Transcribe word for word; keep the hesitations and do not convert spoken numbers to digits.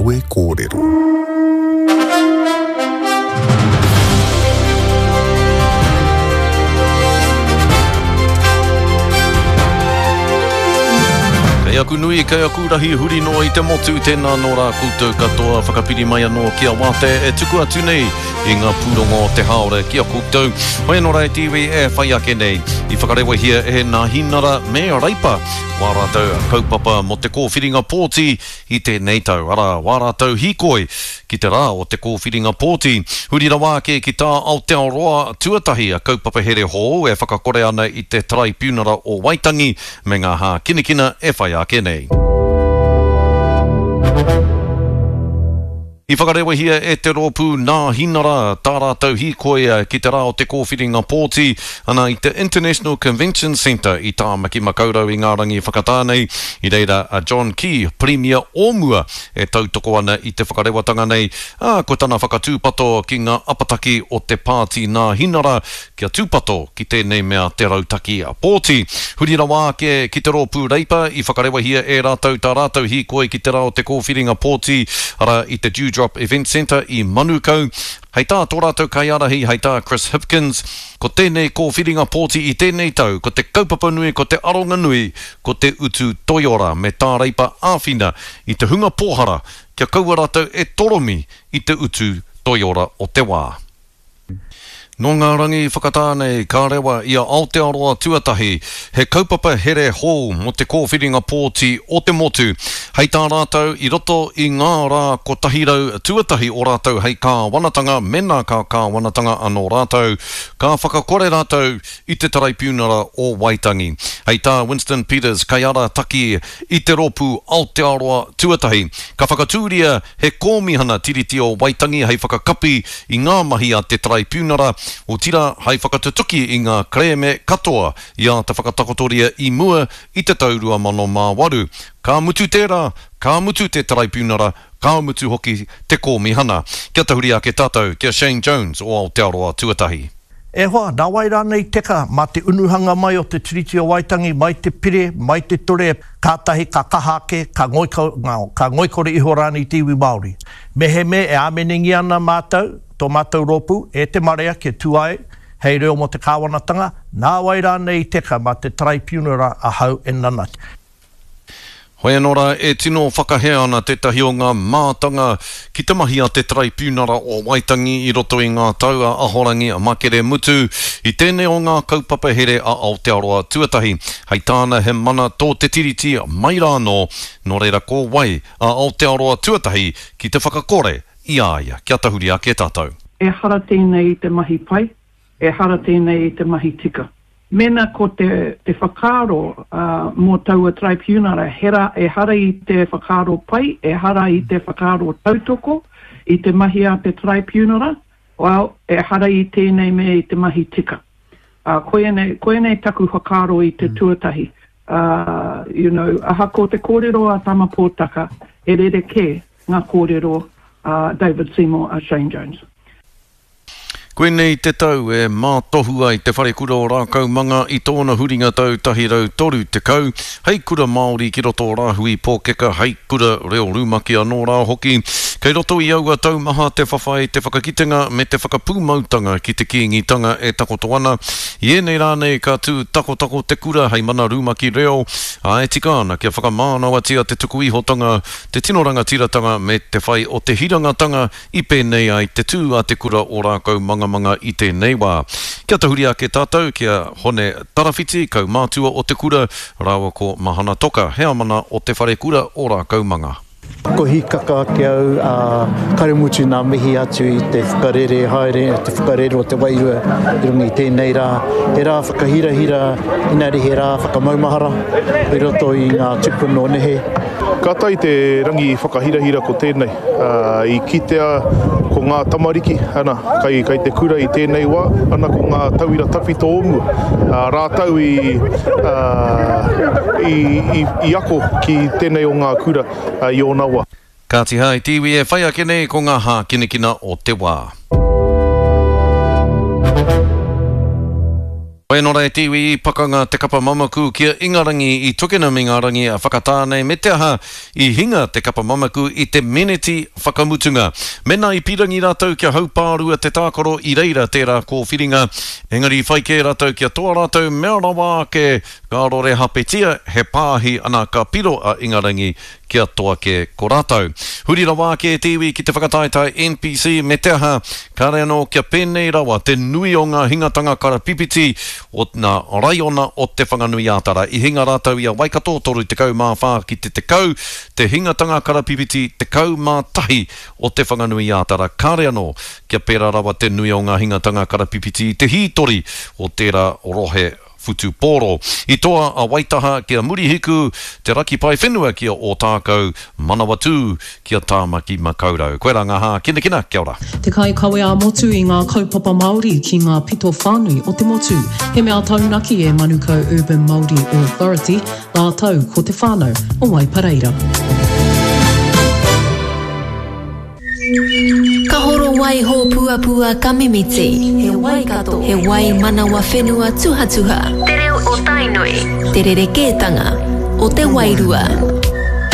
Kawe Kōrero. Kei aku nui, kei aku rahi huri noa i te motu, tēnā nō rā koutou katoa whakapiri mai anō ki a Wātea e tuku atu nei i ngā pūrongo o te haora ki a koutou. Hoi anō rā e te iwi e whai ake nei, i whakarewahia e Nāhinara me Reipa wā rātou kaupapa mō te kōwhiringa pōti i tēnei tau. Arā, wā rātou hīkoi ki te rā o te kōwhiringa pōti. Huri rawa ake ki tā Aotearoa tuatahi a kaupapa here hou e whakakore ana i te Taraipiunara o Waitangi me ngā hākinakina e whai ake nei. I whakarewahia e te rōpū Nāhinara tā rātou hīkoi ki te rā o te kōwhiringa pōti ana i te International Convention Centre i Tāmaki Makaurau i ngā rangi whakatā nei. I reira a John Key, Pirimia o mua, e tautoko ana i te whakarewatanga nei, ā, ko tana whakatūpato ki ngā apataki o te pāti Nāhinara kia tūpato ki tēnei mea te rautaki pōti. Huri rawa ake ki te rōpū Reipa i whakarewahia e rātou tā rātou hīkoi ki te rā o te kōwhiringa pōti, arā i te Dewdrop Event Centre i Manukau. Hei tā tō rātou kaiārahi, hei tā Chris Hipkins, ko tēnei kōwhiringa pōti i tēnei tau, ko te kaupapa nui, ko te aronga nui, ko te utu toiora me tā Reipa āwhina i te hunga pōhara kia kaua rātou e toromi i te utu toiora o te wā. Nō ngā rangi whakatā nei, ka rewa i a Aotearoa tuatahi, he kaupapa here hou mō te kōwhiringa pōti o te motu. Hei tā rātou i roto i ngā rā kotahi rau tuatahi o rātou hei kāwanatanga, mena ka kāwanatanga anō rātou, ka whakakore rātou i te Taraipiunara o Waitangi. Hei tā Winston Peters, kaiarataki i te rōpū Aotearoa tuatahi, ka whakatūria he kōmihana Tiriti o Waitangi hei whakakapi i ngā mahi a te Taraipiunara, otirā hei whakatutuki i ngā kerēme katoa i āta whakatakotoria i mua i te tau rua mano mā waru. Ka mutu tērā, ka mutu te Taraipiunara, ka mutu hoki te kōmihana. Kia tahuri ake tātou ki a Shane Jones o Aotearoa tuatahi. E hoa, nā wai rānei teka mā te unuhanga mai o te Tiriti o Waitangi, mai te pire, mai te ture, kātahi ka kaha ake, ka ngoiko, ka ngoikore iho rānei te iwi Māori. Mehemea e āmenengi ana mātou, tō mātou rōpū, e te marea kia tū ai, hei reo mō te kāwanatanga, nā wai rānei teka mā te Taraipiunara ahau e nanati. Hoi anō rā, e tino whakahē ana tētahi o ngā mātanga ki te mahi a te Taraipiunara o Waitangi i roto i ngā tau a Ahorangi a Makere Mutu i tēnei o ngā kaupapa here a Aotearoa tuatahi. Hei tāna he mana tō te tiriti mai rā anō, nō reira ko wai a Aotearoa tuatahi ki te whakakore i a ia. Kia tahuri ake tātou. Ehara tēnei i te mahi pai, ehara tēnei i te mahi tika. Mena ko te, te whakaaro uh, mō taua Tribunara, hera, ehara i te whakaaro pai, ehara i te whakaaro tautoko, i te mahi a te Tribunara, well, ehara i tēnei me i te mahi tika. Uh, koinei, koinei taku whakaaro i te tuatahi. Uh, you know, ahako te kōrero a Tama Pōtaka, e rerekē ngā kōrero a David Seymour a Shane Jones. Koinei te tau e mātohu ai te wharekura o Rākaumanga i tōna huringa tau tahi rau toru tekau, hei kura Māori ki roto o Rāhui Pōkeka, hei kura reo rumaki anō rā hoki. Kei roto i aua taumaha te whawhai, te whakakitenga me te whakapūmautanga ki te Kīngitanga e takoto ana. I ēnei rānei ka tū takotako te kura hei mana rumaki reo, ā, e tika ana kia whakamānawatia te tuku ihotanga, te tino rangatiratanga me te whai o te hirangatanga i pēnei ai te tū a te kura o Rākaumanga i tēnei wā. Kia tahuri ake tātou ki a Hone Tarawhiti, kaumātua o te kura, rāua ko Mahana Toka, heamana o te wharekura o Rākaumanga. Ko hikaka ake au, uh, kare mutu nā mihi atu i te whakarere haere, te whakarere o te wairua i runga i tēnei rā. He rā whakahirahira, inari he rā whakamaumahara i roto i ngā tupuna o nehe. Ka tae te rangi whakahirahira ko tēnei. Uh, i kitea ko ngā tamariki, ana, kai, kai te kura i tēnei wā, ana ko ngā tauira tawhito o mua. Uh, rātou i, uh, i, i, i ako ki tēnei o ngā kura uh, i ōna wā. Kāti hai te iwi e whai ake nei ko ngā hākinakina o te wā. Hoi Wai anō rā e te iwi i pakanga te kapa mamaku ki a Ingarangi i Twickenham i ngā rangi a Whakatāne me te aha i hinga te kapa mamaku i te meneti whakamutunga. Mēnā i pīrangi rātou kia haupārua te tākaro i reira tērā kōwhiringa, engari i whai kē rātou kia toa rātou mea rawa ake ka rorehapetia he pāhi ana ka piro a Ingarangi kia toa kē ko rātou. Huri rawa ake e te iwi ki te whakataetae N P C me te aha, kāre anō kia pēnei rawa te nui o ngā hingatanga karapipiti o ngā raiona o Te Whanganui-ā-Tara. I hinga rātou i a Waikato toru tekau mā whā ki te tekau, te hingatanga karapipiti tekau mā tahi o Te Whanganui-ā-Tara. Kāre anō kia pērā rawa te nui o ngā hingatanga karapipiti i te hītori o tērā rohe whutupōro. I toa a Waitaha ki a Murihiku, te raki pae whenua ki a Ōtākou, Manawatū ki a Tāmaki Makaurau. Koirā ngā hākinakina, kia ora. Te kaikawe ā-motu i ngā kaupapa Māori ki ngā pito whānui o te motu. He mea taunaki e Manukau Urban Māori Authority rātou ko te whānau o Waipareira. Ka horo wai hōpuapua ka mimiti. He Waikato. He wai manawa whenua tuhatuha. Te reo o Tainui. Te rerekētanga o te wairua.